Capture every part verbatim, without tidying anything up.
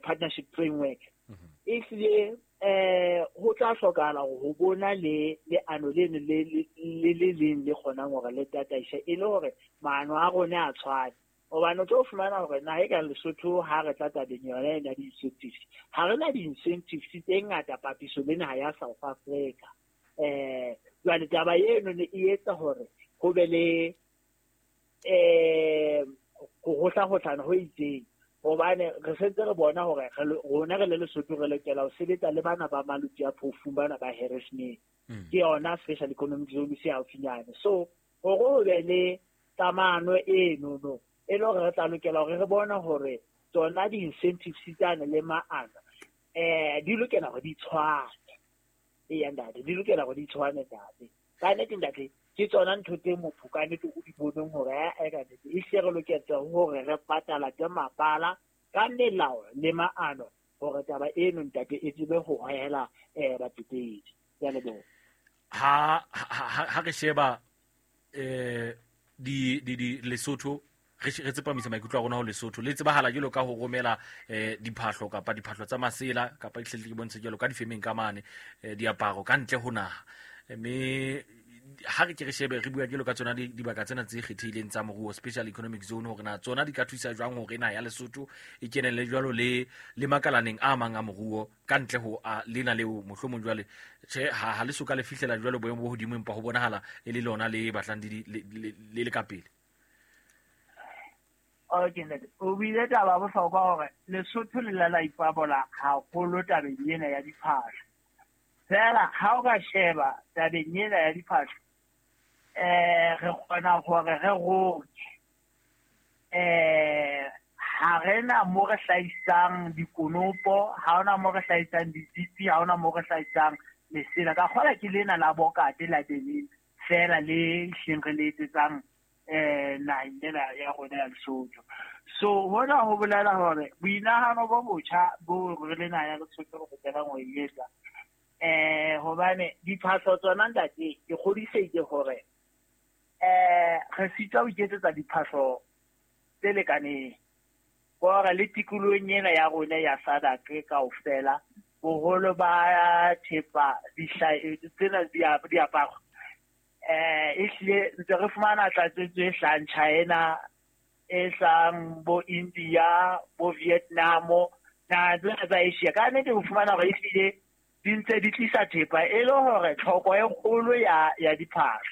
Partnership Framework, e hlile eh ho tla hlokahala ho bona le leano leno le le le leng le kgonang hore le tataise, e le hore maano a rona a tshwane. Hobane o tlo fumana hore naha e kang Lesotho, ha re tla tabeng yona ena di-incentives, ha re na di-incentives tse ngata papiso le naha ya South Africa. eh Jwale taba eno ne e etsa hore ho be le eh ho hohlahohlana ho itseng, hobane re sentse re bona hore rona re le Lesotho re lokela ho sebetsa le bana ba Maluti a Phofung, bana ba Harrismith, ke yona special economic zone se haufinyane. So hore ho be le kamano eno no, e le hore re tla lokela hore re bone hore tsona di-incentives tsane le maano eh di lokela hore di tshwane. Eya ntate, di lokela hore di tshwane ntate. Ka nnete ntate, ke tsona ntho tse motho ka nnete o di boneng hore e ka nnete e hle re loketse hore re patala ke mapala ka melao le maano, hore taba eno ntate e tsebe ho hohela um batsetedi. Ke a leboha. ha ha ha re sheba eh di di di Lesotho, re re tsepamisa maikutlo a rona ho Lesotho, le tsebahala jwalo ka ho romela eh diphahlo kapa diphahlo tsa masela kapa dihlele ke bontshe jwalo ka difemeng ka mane, eh, diaparo ka ntle ho naha. Mme ha re ke re shebe, re bua jwalo ka tsona dibaka tsena tse kgethehileng tsa moruo, special economic zone, hore na tsona di ka thusa jwang hore naha ya Lesotho e kenelle jwalo le le makalaneng a mang a moruo ka ntle ho a lena leo mohlomong jwale tjhe ha ha le soka le fihlela jwalo boemo bo hodimo, empa ho bonahala e le lona le batlang le le le ka pele. Okay ntate, o buile taba bohlokwa hore Lesotho le la la ipabola haholo tabeng ena ya diphahlo. Fela ha o ka sheba tabeng ena ya diphahlo, eh re kgona hore re roke, eh ha re na mo re hlahisang dikonopo, ha hona mo re hlahisang ditsipi, ha hona mo re hlahisang lesela. Ka kgola ke lena la bokate la denim fela le hleng re le etsetsang eh naheng ena ya rona ya Lesotho. So hona ho bolela hore boinahano bo botjha bo re le naha ya Lesotho re lokelang ho e etsa, eh hobane diphahlo tsona ntate, ke kgodisehile hore eh re sitwa ho iketsetsa diphahlo tse lekaneng. Hore le tikolohong ena ya rona ya SADC kaofela, boholo ba thepa tsena diaparo eh e hlile ntse re fumana tlatsetso e hlahang China, e hlahang bo India, bo Vietnam, naha tsena tsa Asia. Ka nnete o fumana hore ehlile di ntse di tlisa thepa e le hore tlhoko e kgolo ya ya diphahlo.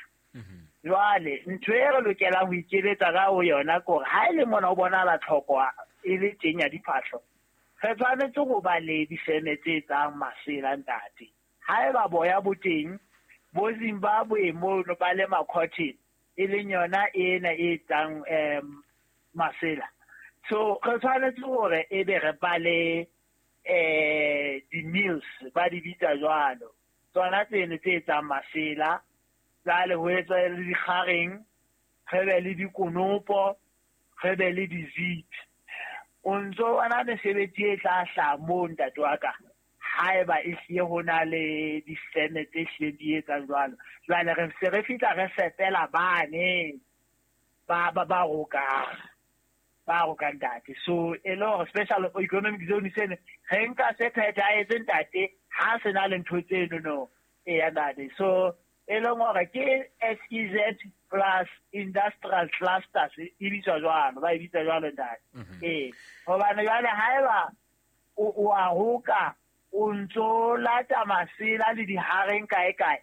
Jwale ntho e re lokelang ho ikeletsa ka ho yona ke hore ha e le mona o bonahala tlhoko e le teng ya diphahlo, re tshwanetse ho ba le difeme tse etsang masela ntate. Haeba boya bo teng bo Zimbabwe mono ba lema cotton, e leng yona ena e etsang um masela. So re tshwanetse hore ebe re ba le eh di-mills, ba di bitsa jwalo, tsona tseno tse etsang masela. Jwale ho etswa le dikgareng, re be le dikonopo, re be le di-zip. O ntso bona mesebetsi e tla hlaha moo ntate wa ka, haeba e hlile ho na le difeme tse hlileng di etsang jwalo. Jwale re se re fihla re fepela bane ba ba ba rokang, ba rokang ntate. So e le hore special economic zone sene re nka se phethahetse ntate, ha se na le ntho tseno no. Eya ntate, so e leng hore ke S E Z plus industrial clusters e bitswa jwalo, ba e bitsa jwalo ntate. Ee, hobane jwale haeba o a roka, o ntso lata masela le dihareng kae kae,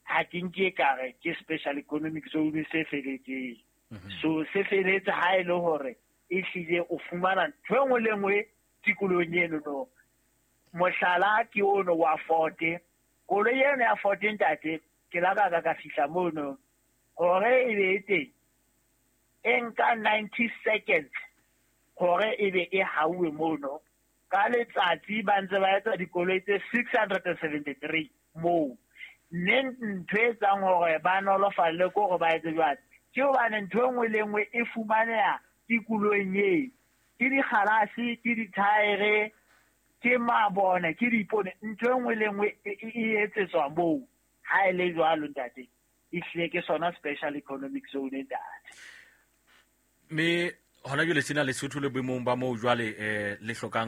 ha ke nke ka re ke special economic zone se feletseng. So se feletse ha e le hore e hlile o fumana ntho e nngwe le nngwe tikolohong eno no. Mohlala ke ono wa Ford, koloi eno ya Ford ntate, ke la ka ka ka fihla mono hore e be e teng, e nka ninety seconds hore e be e hauwe mono. Ka letsatsi ba ntse ba etsa dikoloi tse six hundred and seventy-three moo. Mme ntho e etsang hore ba nolofalle ke hore ba etse jwang, ke hobane ntho e nngwe le nngwe e fumaneha tikolohong eo. Ke dikgalase, ke dithaere, ke mabone, ke diipone, ntho e nngwe le nngwe e etsetswa moo. Ha e le jwalo ntate, e hlile ke sona special economic zone ntate. Mme hona jwale sena Lesotho le boemong ba moo jwale eh le hlokang